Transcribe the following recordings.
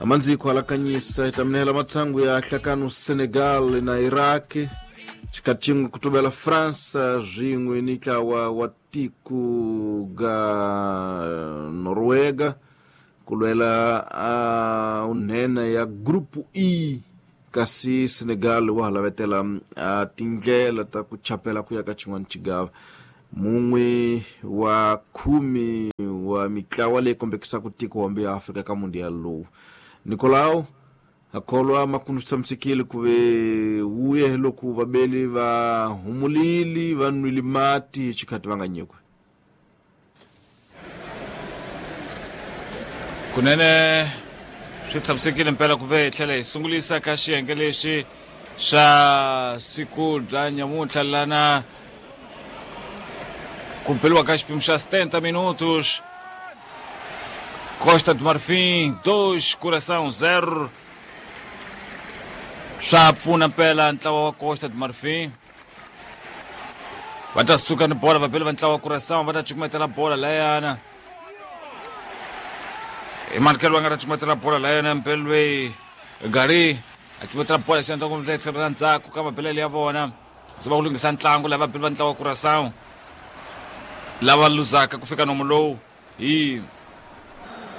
Amandziko alakanyisa itaminela matsangu ya hlakano Senegal na Iraq xikatxingu kutubela França zwin'we ni ntlawa wa tiko ga Noruega kulwela unhena ya Grupo E kasi Senegal wa halavetela tindlela ta ku chapela ku ya ka xin'wana xigava. Mun'we wa 10 wa mitlawa leyi kombekisaka tiko hombe ya Afrika ka mundial lowu. Nicolau akholwa makundu tshamisekile ku ve wuye loko vabeli va humulili va nwile mati xikhati va nga nyikwe. Kunene swi tshamisekile mpela ku ve hi tlhela hi sungulisa ka xiyenge lexi xa siku bya nyamuntlha lana ku beliwa ka xipimo xa 70 minutos. Costa do Marfim 2, Curaçao 0. Swa pfuna mpela ntlawa wa Costa do Marfim. Va ta suka ni bola vabeli va ntlawa wa Curaçao va ta cukumetela bola layana. Hi manikelo va nga ta cukumetela bola layana mpela loyi Gari a cukumetela bola xandla ku tlhelo ra ndzhaku ka mabelele ya vona. Se va ku lunghisa ntlangu lava vabeli va ntlawa wa Curaçao lava luzaka ku fika nomu lowu hi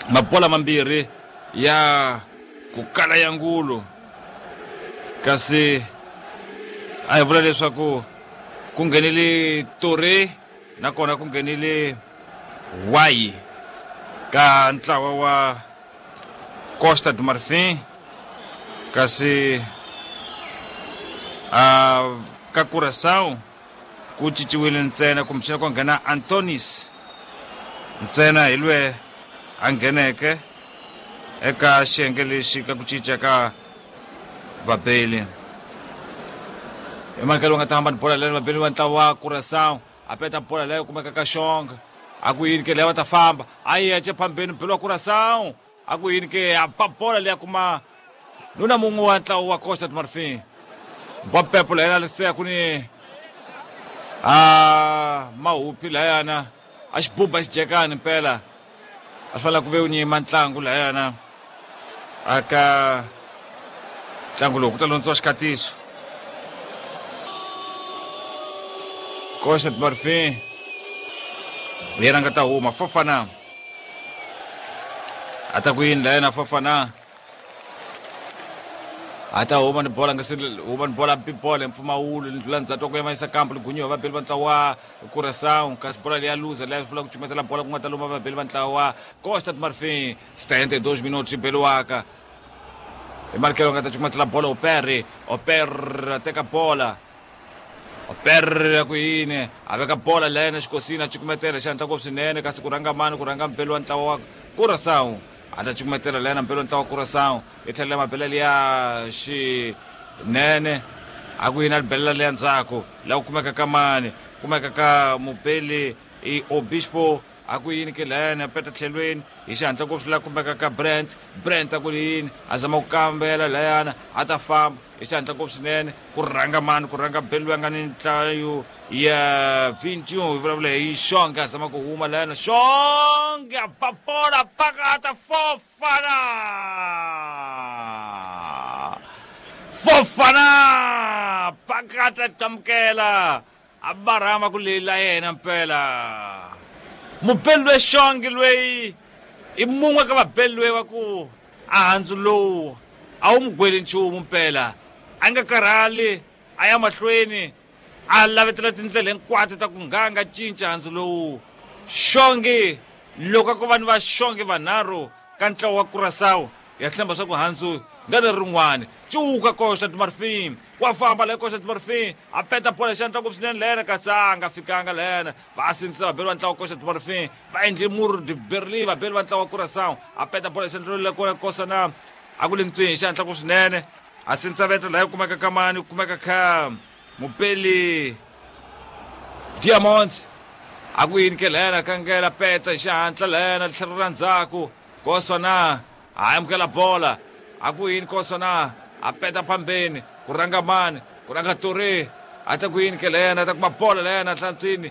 mabola mambirhi ya ku kala ya ngulu. Kasi a hi vula leswaku ku nghenile Toure nakona ku nghenile Wayi ka ntlawa wa Costa do Marfim, kasi ka Curaçao ku cinciwile ntsena kumbexana ku nghena Antonis ntsena hi lwe a ngheneke eka xiyenge lexi ka ku cinca ka vabeli. Hi manikelo va nga ta hamba ni bola leyo vabeli va ntlawa wa Curaçao a peta bola leyo kumeka ka Xonga a ku yini ke leyo va ta famba a yi yace phambeni mbeli wa Curaçao a ku yini ke a ba bola leya kuma nuna mun'we wa ntlawa wa Costa do Marfim. Mbampepo layana lisiya ku ni a mahupi layana a xibuba xijekani mpela a fanele ku ve u nyima ntlangu layana aka ntlangu lowu ku ta londziwa xikatiso. Costa do Marfim yena nga ta huma Fofana a ta ku yini layana Fofana a ta huma ni bola nga se huma ni bola bola hi mpfumawulo ni ndlula ndzhaku wa ku yamanyisa kampu ligunyiwa vabeli va ntlawa wa Curaçao kasi bola leya luza leya fula ku cumetela bola ku nga ta luma vabeli va ntlawa wa Costa do Marfim. 72 minutos beliwaka hi marikelo nga ta cumetela bola Opere Opere a teka bola Opere ya ku yini a veka bola leyana xikosini a cukumetela xi hatla ngopfu swinene kasi ku rhanga mani ku rhanga mbeli wa ntlawa wa Curaçao a ta cukumetela leyana mbeli wa ntlawa wa Curaçao i tlhelela mabelele ya xinene a ku yini a libelela leya ndzhaku laha ku kumeka ka mani kumeka ka mubeli i Obispo a ku yini ke layani a peta tlhelweni hi xihatla ngopfu laha kumeka ka Brent Brent a ku yini a zama ku kambela layana a ta famba hi xihatla ngopfu swinene ku rhanga mani ku rhanga beli loyi a nga ni nhlayo ya 21 hi vulavula hi Xonge a zama ku huma layana Xonge a ba bola pakata Fofana Fofana pakata qamukela a barhama ku lela yena mpela mubeli loyi Xonge loyi i mun'we ka vabeli loyi va ku a handzu lowu a wu mu gweli nchumu mpela a nga karhali a ya mahlweni a lavetela tindlela hinkwato ta ku nga nga cinca handzu lowu. Xonge loko a ko va ni va Xonge vanharhu ka ntlawa wa Curaçao ya tshemba swa ku handzu nga leri rin'wani cuka Costa do Marfim wa famba la Costa do Marfim a peta bola xandla ngopfu swinene lena kasi a nga fikanga lena va sindzisa vabeli va ntlawa wa Costa do Marfim va endle mur de Berlin vabeli va ntlawa wa Curaçao a peta bola xandla le kona kosa na a ku le ntswini xandla ngopfu swinene a sindzisa vetla la kumeka ka mani kumeka ka mupeli Diamonds a ku yini ke lena kangela peta hi xihatla lena tlhelo ra ndzhaku kosa na a amukela bola a ku yini kosa na a peta phambeni ku rhanga mani ku rhanga Toure a ta ku yini ke lena a ta kuma bola lena hlantswini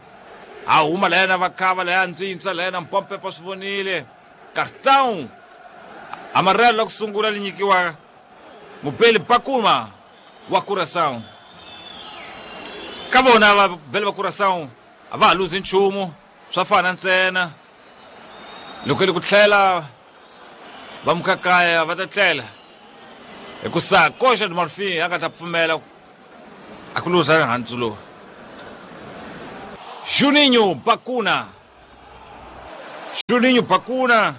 a huma lena va khava leya ntswintswa lena mpompepa swi vonile Cartão. Amarelo la ku sungula li nyikiwa mubeli Bakuma wa Curaçao. Ka vona vabeli va Curaçao a va ha luzi nchumu, swa fana ntsena. Loko li ku tlhela va mukakaya va ta tlela hikusa Costa do Marfim a nga ta pfumela a ku luza handzu lowu. Juninho Bakuna, Juninho Bakuna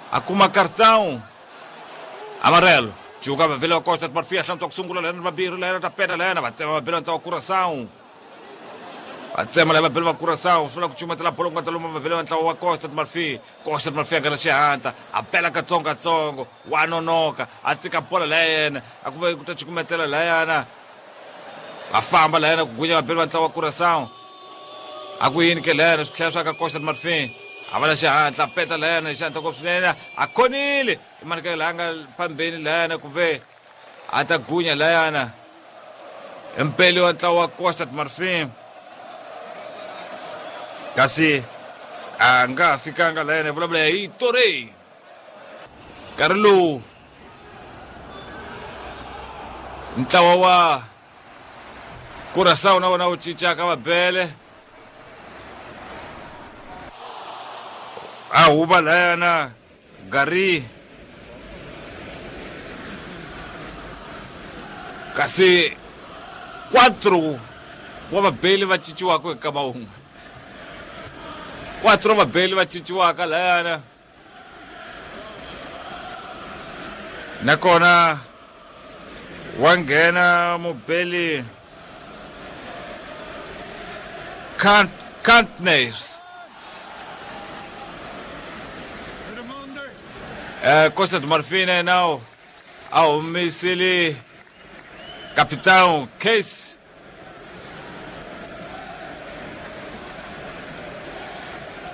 a kuma cartão amarelo. Juga vavela wa Costa do Marfim, hlantswa ku sungula lena vambirhi lena ta peta lena va tsema vabeli va ntlawa Curaçao. Va tsema lava vabeli va Curaçao, swi vula ku cumatela bolo ku nga ta luma vabeli va ntlawa wa Costa do Marfim. Costa do Marfim a nga na xihatla, a pela katsongokatsongo, wa nonoka, a tsika bola la yena, a ku ve ku ta cukumetela layana. Va famba layana ku gunya vabeli va ntlawa wa Curaçao. A ku yini ke layana swi tlhela swa ka Costa do Marfim. A va na xihatla, a peta layana hi xihatla ngopfu swinene, a khonile. I manikelo laha nga phambeni layana ku ve a ta gunya layana. Mpeli wa ntlawa wa Costa do Marfim. Kasi a nga ha fikanga layana, hi vulavula hi Torre. Nkarhi lowu ntlawa wa Curaçao na wona wu cincaka vabele. A huva layana Gary. Kasi 4 wa vabeli va cinciwaka eka wun'we. 4 wa vabeli va cinciwaka layana. Nakona wa nghena mubeli Kantnes. Costa do Marfim now a humisile capitão Case.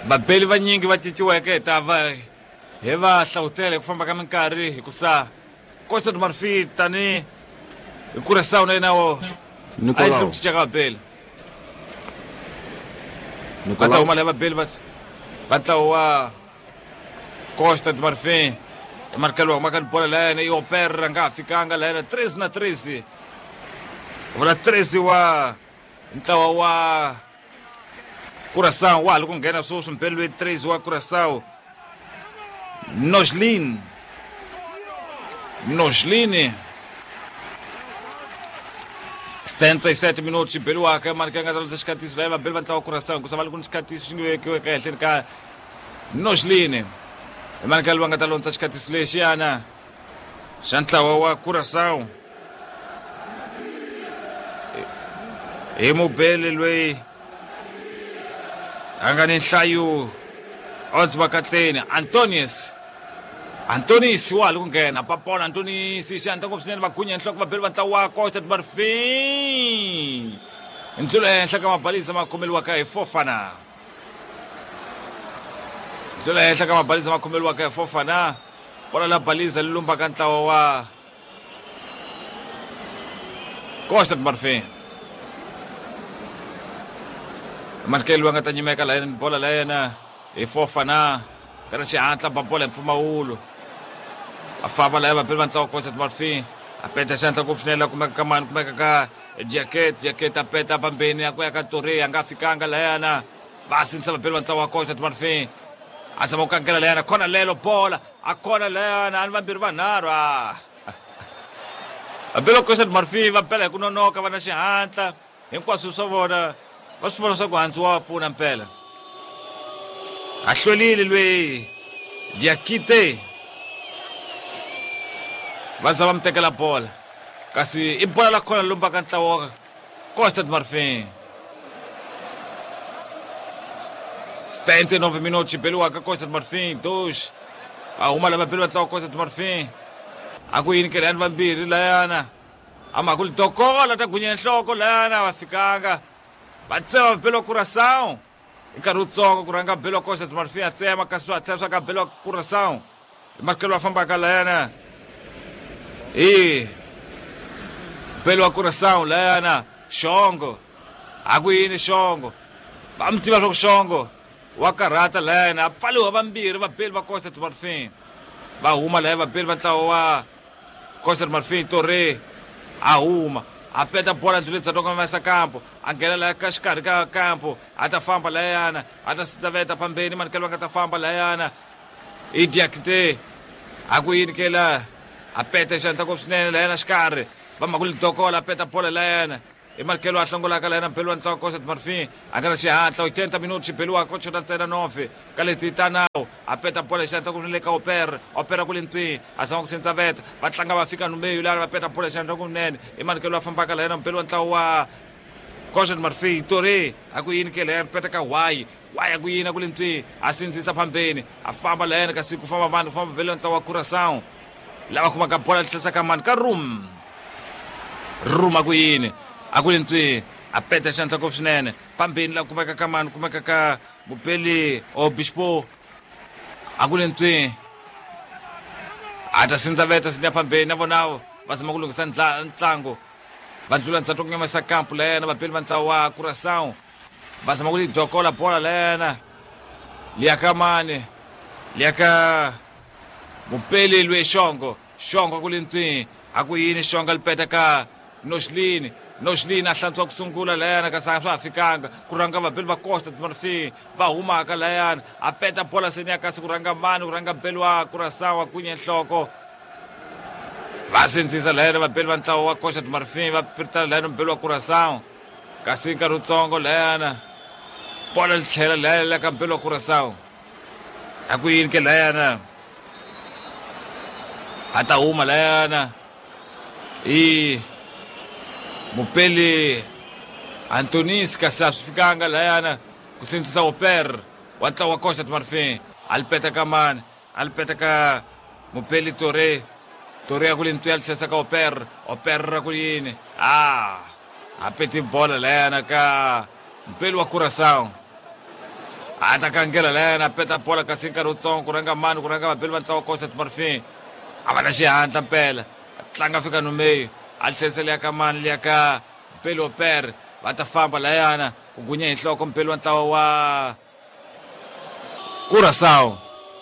Vabeli vanyingi va cinciweke hi ta va hi va hlawutela hi ku famba ka minkarhi hikusa Costa do Marfim tani hi Curaçao na yena wo a yi ku cinca ka vabeli. Va ta huma laha vabeli va ntlawa wa Costa do Marfim. Markelo wa humaka ni bola layana i Opera nga ha fikanga layana 13 na 13. Vula 13 wa ntlawa wa Curaçao wa ha ri ku nghena sweswi mpeli loyi 13 wa Curaçao. Noslin. Noslin. 77 minutos xibeliwaka marika nga ta lutsa xikhatisi laha vabeli va ntlawa wa Curaçao hikusa va ri ku ni xikhatisi xi nge vekiweke ehenhleni ka Noslin. Marika loyi va nga ta londza xikhatisi lexiyana xa ntlawa wa Curaçao. Hi mubeli loyi a nga ni nhlayo Odzibakatleni Antonius. Antonis wa ha ri ku nghena papola Antonis xihatla ngopfu swinene va gunya nhloko vabeli va ntlawa wa Costa do Marfim. Ndlula ehenhla ka mabalisa ma khomeliwaka hi Fofana. Ndlula ehenhla ka mabalisa ma khomeliwaka hi Fofana. Bola la balisa li lumbaka ntlawa wa Costa do Marfim. Markelo va nga ta nyimeka la yena bola la yena hi Fofana. Kana xihatla ba bola hi mpfumawulo. A famba la vabeli va ntlawa Costa do Marfim. A peta xihatla ngopfu swinene la kumeka ka mani kumeka ka Jacket, Jacket a peta pambeni a ku ya ka Torre a nga fikanga layana. Va sindzisa vabeli va ntlawa wa Costa do Marfim. A zama ku kangela layana khona lelo bola a khona layana a ni vambirhi vanharhu a. Vabeli va Costa do Marfim va bela hi ku nonoka va na xihatla hinkwaswo swa vona va swi vona swa ku handzu wa va pfuna mpela. A hlwelile loyi Diakite. Va za va mi tekela bola. Kasi i bola la khona lombaka ntlawa wa Costa do Marfim. 79 minutos xibeliwaka Costa do Marfim 2. A huma lava beli va ntlawa Costa do Marfim. A ku yini ke layani vambirhi layana. A ma ku dokola ta gunya nhloko layana va fikanga. Va tsema beli wa Curaçao. Hi nkarhi wutsongo ku rhanga beli wa Costa do Marfim a tsema kasi swa tlhela swa ka beli wa Curaçao. Markelo wa fambaka layana. Hi beli wa Curaçao layana Xongo. A ku yini Xongo? Va mi tiva swa ku Xongo wa karhata layana a pfaliwa vambirhi vabeli va Costa do Marfim. Va huma laya vabeli va ntlawa wa Costa do Marfim. Torre a huma a peta bola ndluleni dzatoka masa kampo, a nghena laya ka xikarhi ka kampo, a ta famba layana, a ta sitaveta pambeni manikelo va nga ta famba layana i Diakite a ku yini ke la a peta xandla ngopfu swinene layana xikarhi va mhaka lidokola a peta bola layana i manikelo a hlongolaka layana mbeli wa ntlawa Costa do Marfim a nga na xihatla 80 minuti xibeliwa ko chota ntsena 9 ka leti ta nawu a peta bola xandla ku le ka Opera Opera ku le ntwini a zama ku sindzaveta va tlanga va fika numeyo lana va peta bola xandla kunene i manikelo a fambaka layana mbeli wa ntlawa wa Costa do Marfim. Torre a ku yini ke layana peta ka Wai Wai a ku yini a ku le ntwini a sindzisa phambeni a famba layana kasi ku famba vanhu ku famba mbeli wa ntlawa wa Curaçao lava kumaka bola tlhesa ka mani ka Rum Rum a ku yini a ku le ntwini a peta xandla ngopfu swinene phambeni la kumeka ka mani kumeka ka mupeli Obispo a ku le ntswini a ta sindzaveta sinya phambeni na vona va zama ku lunghisa ntlangu va ndlula ndzhaku ku nyamisa kampu layena vabeli va ntlawa wa Curaçao va zama ku lidokola bola layena liya ka mani liya ka mupeli lwe Xongo Xongo ku le ntswini a ku yini Xongo li peta ka Noxlini Noxlini a hlantswa ku sungula layana kasi a swa ha fikanga ku rhanga vabeli va Costa do Marfim va humaka layana a peta bola seni ya kasi ku rhanga mani ku rhanga mbeli wa Curaçao a kunye nhloko va sindzisa layana vabeli va ntlawa wa Costa do Marfim va firitana layana mbeli wa Curaçao kasi nkarhi wutsongo layana bola li tlhela layana la ka mbeli wa Curaçao a ku yini ke layana a ta huma layana i mupeli Antonis kasi a swi fikanga layana ku sindzisa Oper wa ntlawa wa Costa do Marfim a li peta ka mani a li peta ka mupeli Torre Torre a ku le ntwi a li tlhesa ka Oper Oper a ku yini a peti bola layana ka mupeli wa Curaçao a ta kangela layana a peta bola kasi nkarhi wutsongo ku rhanga mani ku rhanga vabeli va ntlawa wa Costa do Marfim a va na xihatla mpela tlanga fika numeyo a tlherisa liya ka mani liya ka mpeli Oper va ta famba layana ku gunya hi nhloko mpeli wa ntlawa wa Curaçao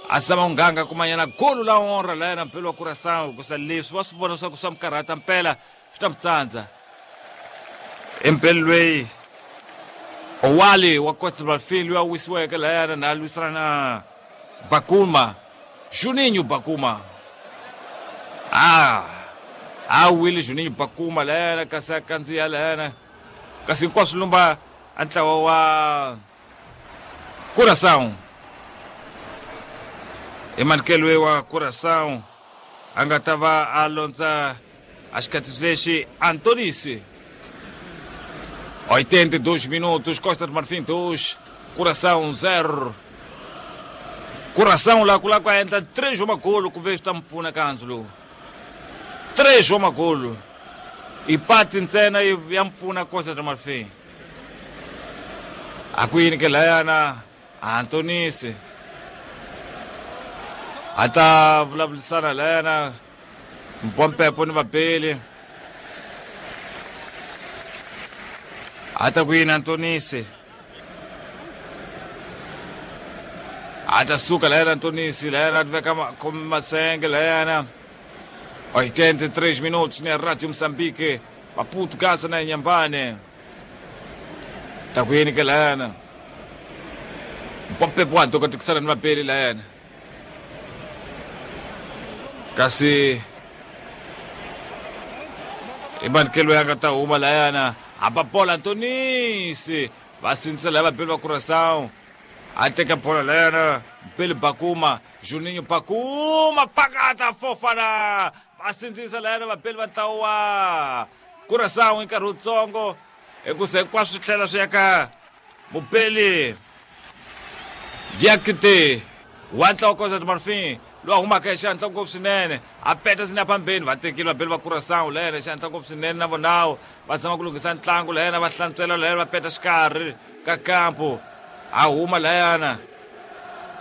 a zama ku nganga kumanyana golu la onra layana mpeli wa Curaçao kusa leswi va swi vona leswaku swa mikarhata mpela swi ta mitsandza empeli lweyi Owali wa Costa do Marfim loyi a wisiweke layana na lwisana na Bakuma Juninho Bakuma a wile Juninho Bakuma layana kasi a kandziya layana kasi hinkwaswo lumba a ntlawa wa Curaçao i manikelo wa Curaçao a nga ta va a londza a xikatiso lexi Antonisi 82 minutos Costa do Marfim 2 Curaçao 0 Curaçao la ku lava ku endla 3 wa magolo ku ve swi ta mi pfuna ka handzu lowu 3 wa magolo i pati ntsena ya mpfuna Costa do Marfim a ku yini ke layana Antonisi a ta vulavurisana layana Mpompepo ni vabeli a ta ku yini Antonisi a ta suka layana Antonisi layana a veka masenge layana 83 minutos na Rádio Moçambique Maputo Gaza na Inhambane ta ku yini ke layana Mpompepo wa dokotikisana ni vabeli layana kasi i manikelo ya nga ta huma layana hamba bola Antonisi va sindzisa laya vabeli va Curaçao a teka bola layana mpeli Bakuma Juninho Bakuma pakata Fofana va sindzisa layana vabeli va ntlawa wa Curaçao hi nkarhi wutsongo hikusa hinkwaswo swi tlhela swi ya ka mupeli Diakite wa ntlawa Costa do Marfim loyi a humaka hi xihatla ngopfu swinene a peta sina phambeni va tekile vabeli va Curaçao layena hi xihatla ngopfu swinene na vonawo va zama ku lunghisa ntlangu layena va hlantswela layena va peta xikarhi ka kampo a huma layana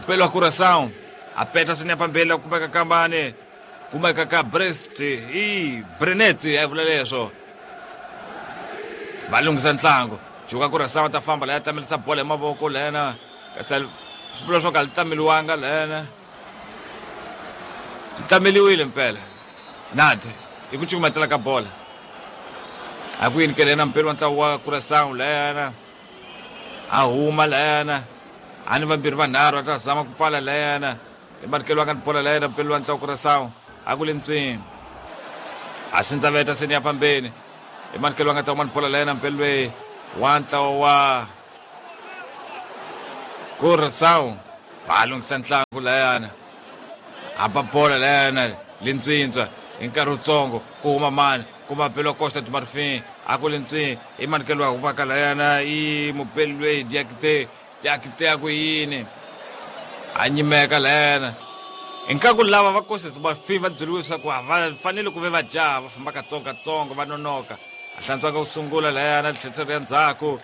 mpeli wa Curaçao a peta sina phambeni la kumeka ka mani kumeka ka Brest i Brenet a vula leswo va lunghisa ntlangu juka Curaçao ta famba laya tamelisa bola hi mavoko layena kasi swi vula swo ka li tameliwanga layena Tameliwile mpela nade hi ku cukumetela ka bola a ku yini ke lena mpeli wa ntlawa wa Curaçao layana a huma layana a ni vambirhi vanharhu a ta zama ku pfala layana i manikelo wa ka ni bola layana mpeli wa ntlawa wa Curaçao a ku le ntswini a sindzaveta seni ya fambeni i manikelo wa nga ta huma ni bola layana mpeli loyi wa ntlawa wa Curaçao va lunghisa ntlangu layana a ba bola layana lintswintswa hi nkarhi wutsongo ku huma mani kuma belo wa Costa do Marfim a ku lintswini i manikelo wa humaka layana i mubeli loyi Diakite Diakite a ku yini a nyimeka layana hi nkarhi lava va Costa do Marfim va byeriwe leswaku a va fanele ku ve va jaha va famba katsongokatsongo va nonoka a hlantswaka ku sungula layana tlheriselo ya ndzhaku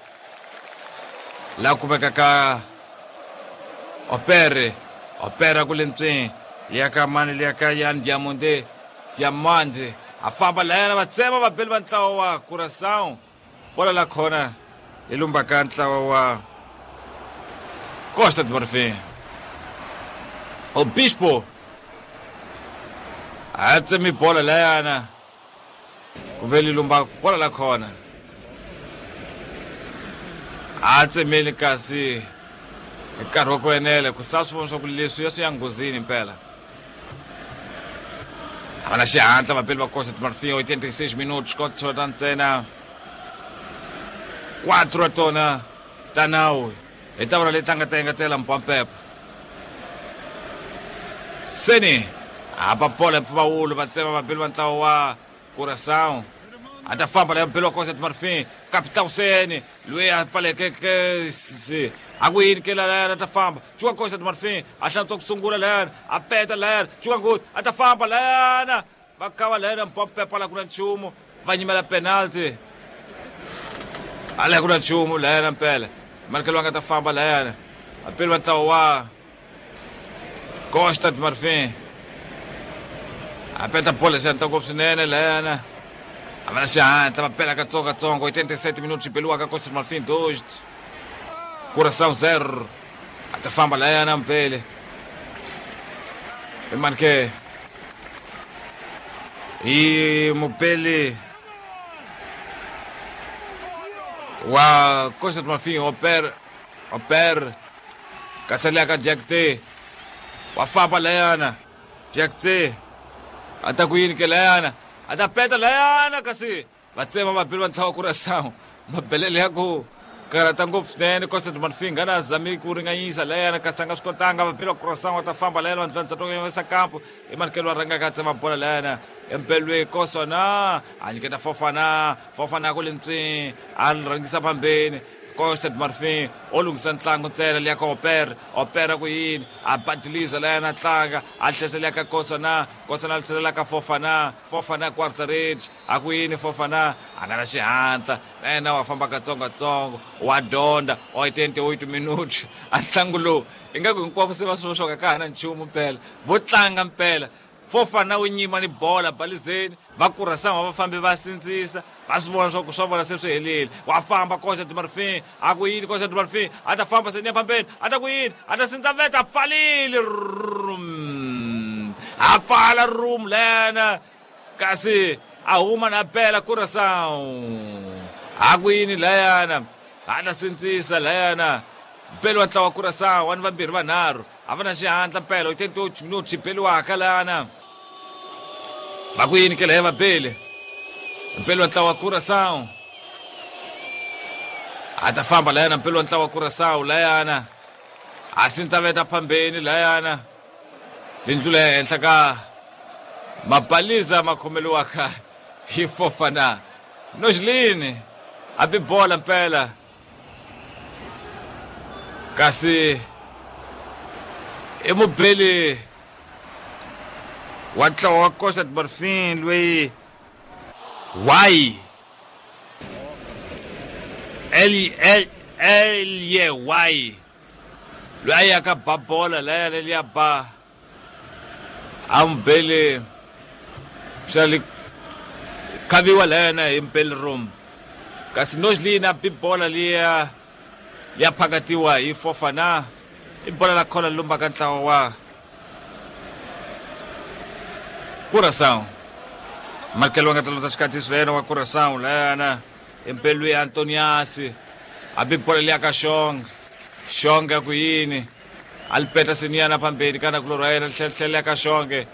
laha kumeka ka Opere Opera ku le ntswini liya ka mani liya ka Yan Diamonde Diamond a famba layana va tsema vabeli va ntlawa wa Curaçao bola la khona yi lumba ka ntlawa wa Costa do Marfim Obispo a tsemi bola layana ku ve li lumba bola la khona a tsemeli kasi hi nkarhi wa ku enela ku sa swi vona swa ku leswi ya swi ya nghozini mpela a va na xihatla vapeli va Costa do Marfim 86 minutos ko tsota ntsena 4 wa tona ta nawu hi ta vona leyi tlanga ta engetela mpampepa seni hapa bola mpfumawulo va tsema vapeli va ntlawa wa Curaçao a ta famba leya mpeli wa Costa do Marfim Capitão Sene loyi a pfalekeke se a ku yini ke layana a ta famba cuka Costa do Marfim a hlantswa ku sungula layana a peta layana cuka nghozi a ta famba layana va kava layana mpampepa la ku na nchumu va nyimela penalty a la ku na nchumu layana mpela manikelo va nga ta famba layana vapeli va ntlawa wa Costa do Marfim a peta bola xihatla ngopfu swinene layana a va na xihatla va pela katsongokatsongo 87 minutos xibeliwaka Costa do Marfim 2 Curaçao 0 a ta famba layana mpele i manike hi mupeli wa Costa do Marfim Oper Oper kasi ka Diakite wa famba layana Diakite a ta ku yini ke layana a ta peta layana kasi va tsema vapeli va ntlawa Curaçao mabelele ya ku karhata ngopfu swinene Costa do Marfim nga na zami ku ringanyisa layana kasi a nga swi kotanga vapeli va Curaçao va ta famba layana va ndlandza to yisa kampo i manikelo wa rhangaka a tsema bola layana empelweni Kosona a nyiketa Fofana Fofana ku le ntswini a rhangisa phambeni Costa do Marfim o lunghisa ntlangu ntsena liya ka Opera Opera ku yini a badiliza layana a tlanga a tlhesa liya ka Kosona Kosona a tlhelela ka Fofana Fofana quarter range a ku yini Fofana a nga na xihatla na yena wa famba katsongokatsongo wa dyondza 88 minutos a ntlangu lowu ingaku hinkwavo se va swi swa ka ha na nchumu mpela vo tlanga mpela Fofana wu nyima ni bola balizeni va Curaçao va fambi va sindzisa va swi vona swa ku swa vona se swi helile wa famba Costa do Marfim a ku yini Costa do Marfim a ta famba seni ya phambeni a ta ku yini a ta sindzaveta a pfalile rum a pfala room lena kasi a huma na pela Curaçao a ku yini layana a ta sindzisa layana mpeli wa ntlawa wa Curaçao wa ni vambirhi vanharhu a va na xihatla mpela 88 minutos xibeliwaka lana va ku yini ke laya vabeli mpeli wa ntlawa wa Curaçao a ta famba layana mpeli wa ntlawa wa Curaçao layana a sindzaveta phambeni layana lindlula ehenhla ka mabaliza ma khomeliwaka hi Fofana Nojlini a bi bola mpela kasi i mubeli wa ntlawa wa Costa do Marfim loyi Y L L L Y Y loyi a yaka ba bola laya leliya ba a mubeli swa li khaviwa layana hi mpeli room kasi Nojlini a bi bola liya ya phakatiwa hi Fofana i bola la khona lumbaka ntlawa wa Curaçao. Marcelo nga talota xikhatisi leyena wa Curaçao layana empelweni Antoniasi a bi bola liya ka Xonga. Xonga ku yini a li peta siniyana phambili kana kulorhi wa yena tlhela ka Xonge.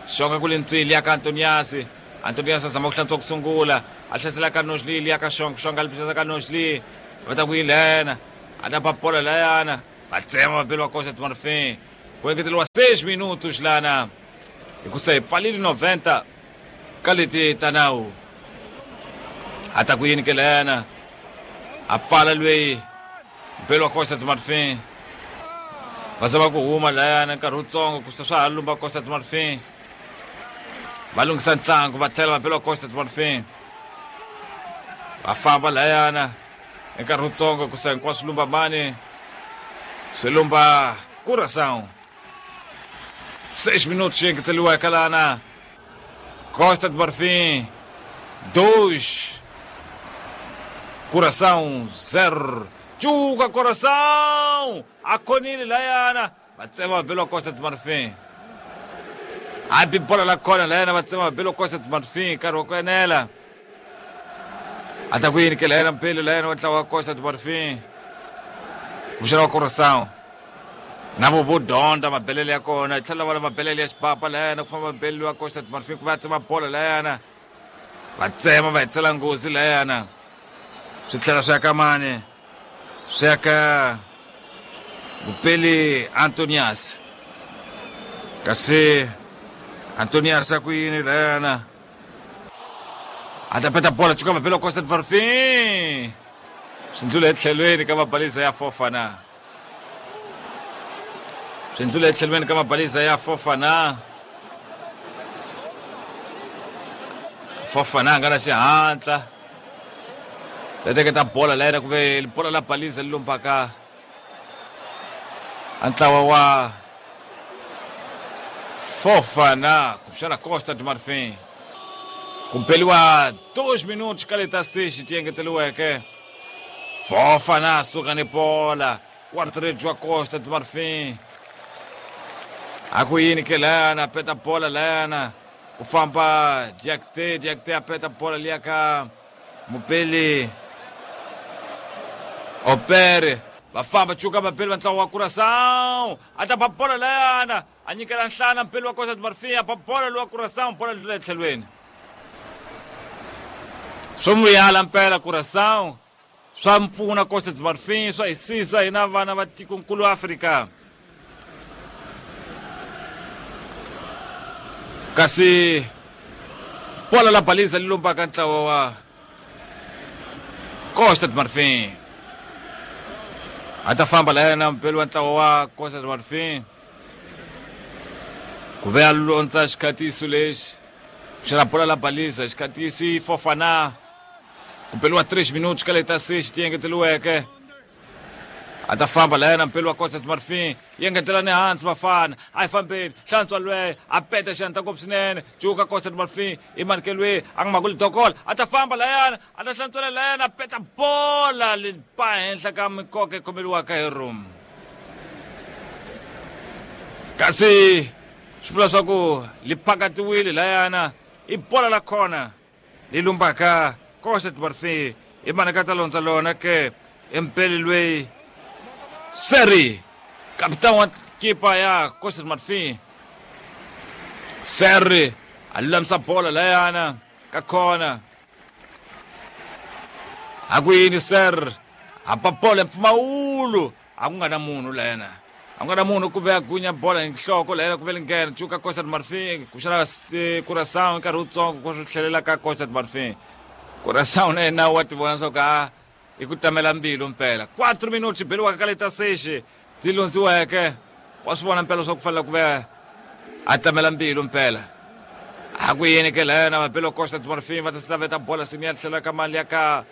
Xonga ku le ntswili ya ka Antoniasi. Antoniasi a zama ku hlantswa ku sungula a hlasela ka Nosli liya ka Xonga. Xonga a li pisasa ka Nosli va ta ku yi lena a ta ba bola layana va tsema vapeli wa Costa do Marfim. Ku engeteriwa 6 minutos lana hikusa hi pfalile 90 ka leti ta nawu. A ta ku yini ke lena a pfala lweyi mpeli wa Costa do Marfim va zama ku huma layana nkarhi wutsongo ku swa ha lumba Costa do Marfim. Va lunghisa ntlangu va tlhela vapeli wa Costa do Marfim va famba layana nkarhi wutsongo ku sa hinkwaswo lumba mani swi lumba Curaçao. 6 minutos engeteriweke lana Costa do Marfim 2 Curaçao 0. Cuka Curaçao a khonile layana va tsema vapeli wa Costa do Marfim. A bi bola la khona layana va tsema vapeli wa Costa do Marfim nkarhi wa ku enela. A ta ku yini ke layana mpeli layana wa ntlawa wa Costa do Marfim kuxana wa Curaçao na vo vo dyondza mabelele ya kona tlhela va la mabelele ya xipapa layana ku famba mpeli wa Costa do Marfim ku va tsema bola layana va tsema va hetisela nghozi layana swi tlhela swi ya ka mani swi ya ka mupeli Antonias. Kasi Antonias a ku yini layana a ta peta bola cuka mapeli wa Costa do Marfim swi ndlula etlhelweni ka mabalisa ya Fofana. Swi ndlula etlhelweni ka mabalisa ya Fofana. Fofana a nga na xihatla teketa bola layena ku ve bola la balisa li lumbaka a ntlawa wa Fofana kuxana Costa do Marfim. Ku beliwa 2 minutos ka leta 6 ti engeteriweke. Fofana suka ni bola quarto wa Costa do Marfim a ku yini ke layana peta bola layana ku famba Diakite. Diakite a peta bola liya ka mupeli Opere va famba cuka vapeli va ntlawa wa Curaçao a ta ba bola layana a nyikela nhlana mpeli wa Costa do Marfim a ba bola lowa Curaçao bola ndlula etlhelweni. Swo muyala mpela Curaçao swa mpfuna Costa do Marfim swa hisisa hina vana va tikonkulu Afrika. Kasi bola la balisa li lumbaka ntlawa wa Costa do Marfim a ta famba layana mpeli wa ntlawa wa Costa do Marfim ku ve a londza xikhatiso lexi xana bola la balisa xikhatiso i Fofana ku beliwa 3 minutos ka leta 6 ti engeteriweke. A ta famba layana mpeli wa Costa do Marfim yi engetela ni hansi vafana a yi fambeni hlantswa lweyo a peta xiyani ta ngopfu swinene cuka Costa do Marfim i manekelwe a nga makuli dokola a ta famba layana a ta hlantswela layana a peta bola li pa henhla ka mikoka yi khomeliwaka hi room. Kasi swi vula swa ku li phakatiwile layana i bola la khona li lumbaka Costa do Marfim i maneka ta londza lona ke empeli lweyi Seri kapitani wa kipa ya Costa do Marfim Seri a lulamisa bola layana ka khona a ku yini Ser a ba bola mpfumawulo a ku nga na munhu layana a ku nga na munhu ku ve a gunya bola hi nhloko layana ku ve linghena cuka Costa do Marfim kuxana Curaçao nkarhi wutsongo ku swi tlhelela ka Costa do Marfim. Curaçao na yena wa ti vona swa ku a i ku tamela mbilu mpela 4 minutos beliwaka ka leta 6 ti londziweke wa swi vona mpela swa ku fanele ku ve a tamela mbilu mpela. A ku yini ke layana vapeli wa Costa do Marfim va ta slaveta bola sini ya tlhela ka mali ya ka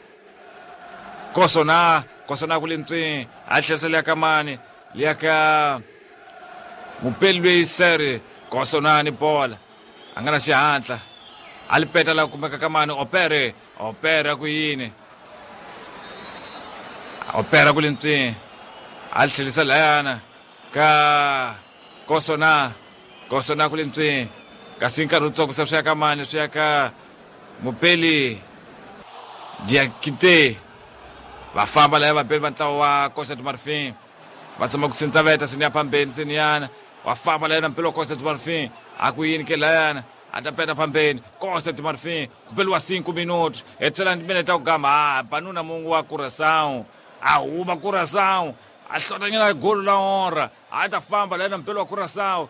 Kosona. Kosona ku le ntswini a tlherisela ya ka mani liya ka mupeli lweyi Seri Kosona ni bola a nga na xihatla a li peta la kumeka ka mani Opere. Opere ku yini Opera ku le ntswini a li tlherisa layana ka Kosona. Kosona ku le ntswini Kasi nkarhi wutsongo se swi ya ka mani, swi ya ka Mupeli Diakite. Va famba laya vapeli va ntlawa wa Costa do Marfim. Va tshama ku sindzaveta seni ya phambeni seniyana. Va famba laya na mpelo wa Costa do Marfim. A ku yini ke layana? A ta peta phambeni. Costa do Marfim. Ku peliwa 5 minutos. Hetisela minete ta ku gama. Ah, banuna mungu wa Curaçao. A huma Curaçao. A hlotanyana golo la honra. A ta famba laya na mpelo wa Curaçao.